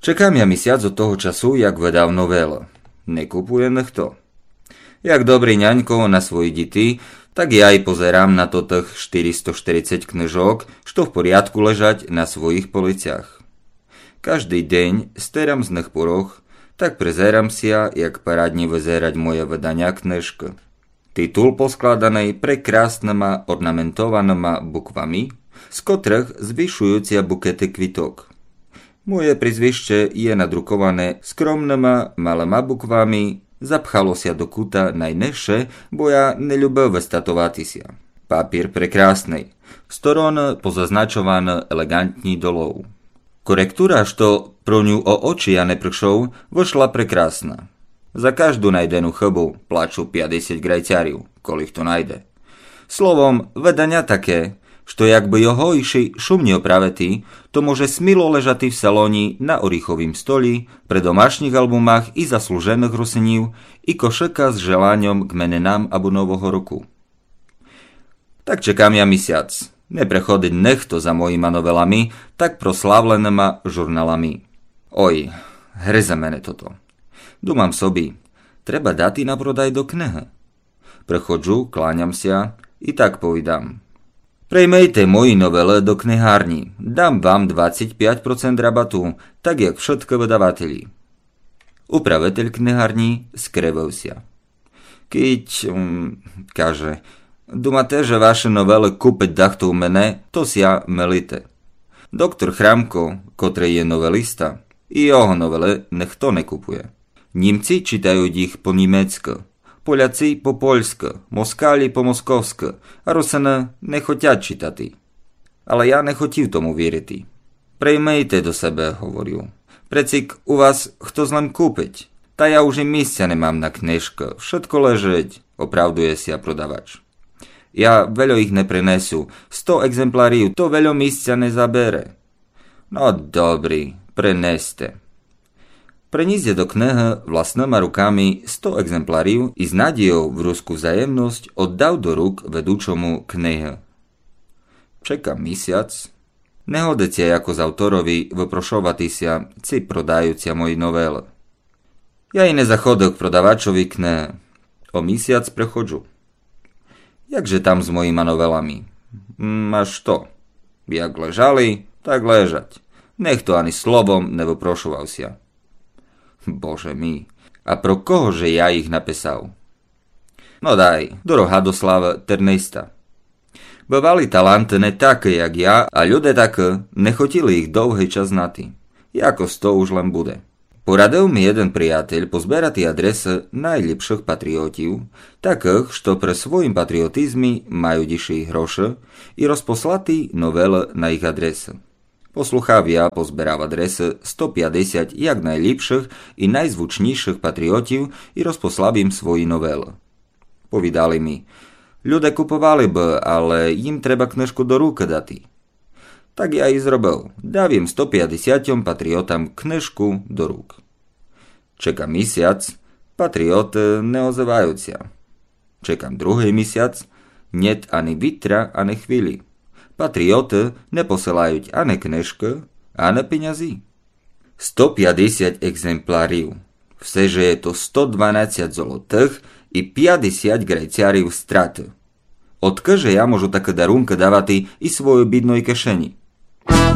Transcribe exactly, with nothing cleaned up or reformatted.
Чекам я місяц од того часу, як выдав новелы. Не купує нихто. Як добрый нянько на свої діти, так я й позерам на тотых штыристо штырицять книжок, што в порядку лежать на своїх полицях. Каждый день стерам з них порох, так призерам ся, як парадні вызерать моє выданя книжкы. Титул поскладаный прекрасныма орнаментованыма буквами, з котрых звішуються букеты квіток. Моє прізвище є надруковане скромныма малыма буквами, запхало ся до кута найнижше, бо я не любив выстатовати ся. Папір прекрасный, стороны позазначованы елеґантні долов. Коректура, што про ню о очі я не пришов, вышла прекрасна. За кажду найдену хыбу плачу пятдесять грайцярів, коли хто найде. Словом, выданя таке, што якбы його іщи шумні оправити, то може сміло лежати в салоні на оріховім столі, при домашніх албумах і заслуженых русинів, і кошыка з желаньом к менинам або Нового року. Так чекам я місяц. Не приходить нихто за моїма новелами, так прославленыма журналами. Ой, гризе мене тото. Думам собі, треба дати на продай до книгы. Приходжу, кланям ся і так повідам: Приймийте мої новелы до книгарні, дам вам двадцять пять процент рабату, так як вшыткы выдавателі. Управитель книгарні скривив ся. Кідь, м, каже, думате, же вашы новелы купить дахто у мене, то ся милите. Доктор Храмко, котрый є новелиста, і його новелы нихто не купує. Німці читають їх по-німецькы, поляці по-польськы, москалі по-московськы, а русины не хотять читати. Але я не хотів тому вірити. Приймийте до себе, говорю. Прецік у вас хто злем купить. Та я уже місця не мам на книжкы, вшытко лежить, оправдує ся продавач. Я вельо їх не принесу, сто екземплярів, то вельо місця не забере. Но добрі, принесте. Приніс я до книгы власныма руками сто екземплярів і з надійов в руску взаємность оддав до рук ведучому книгы. Чекам місяц. Не годить ся якось авторови выпрошовати ся, ци продаються мої новелы. Я і не заходив к продавачови книгы. О місяц приходжу. Як же там з моїма новелами? М, а што? Як лежали, так лежать. Нихто ани словом не выпрошовав ся. Боже мій, а про кого же я їх написав? Но дай, дорога до славы терниста. Бывали таланты не такы, як я, а люде такы не хотіли їх довгый час знати. Якось то уж лем буде. Порадив ми єден приятель позберати адресы найліпшых патріотів, такых, што при своїм патріотизмі мають іщи й грошы, і розпослати новелы на їх адресы. Послухав я, позберав адресы сто пятдесять як найліпшых і найзвучнішых патріотів і розпослав їм свої новелы. Повідали ми: люде куповали бы, але їм треба книжку до рук дати. Так я і зробив. Дав їм сто пятдесятьом патріотам книжку до рук. Чекам місяц, патріоты не озывають ся. Чекам другый місяц, нєт ани вітра, ани хвилі. Патріоты не посылають ани книжкы, ани пенязі. Сто пятдесять екземплярів. Все же є то сто дванадцять золотых і пятдесять грайцярів страты. Одкы же я можу такы дарункы давати і свойой бідной кишені?